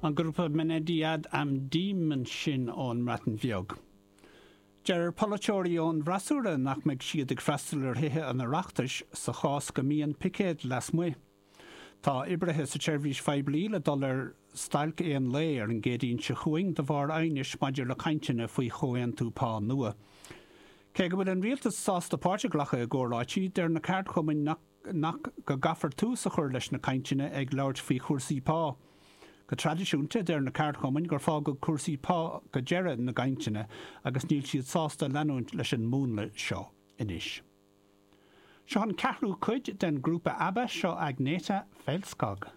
An grúpa Mynediad am Ddim ansin ón mBreatain Bheag. Deir polaiteoirí ón bhfreasúra nach mbeidh siad ag freastal ar Thithe an Oireachtais sa chás go mbíonn picéad lasmuigh. Tá oibrithe sa tseirbhís phoiblí le dul ar stailc aon lae ar an gCéadaoin seo chugainn de bharr aighnis maidir le cainteanna faoi chomhaontú pá nua. Cé go bhfuil an rialtas sásta páirt a ghlacadh i gcomhráití, deir na ceardchumainn nach nach go gcaithfear tús a chur leis na cainteanna ag labhairt faoi chúrsaí pá. Go traidisiúnta, deir na ceardchumainn gur fágadh cúrsaí pá go deireadh na gcainteanna agus níl siad sásta leanúint leis an múnla seo anois. Seo an ceathrú cuid den grúpa ABBA, seo Agnetha Fältskog.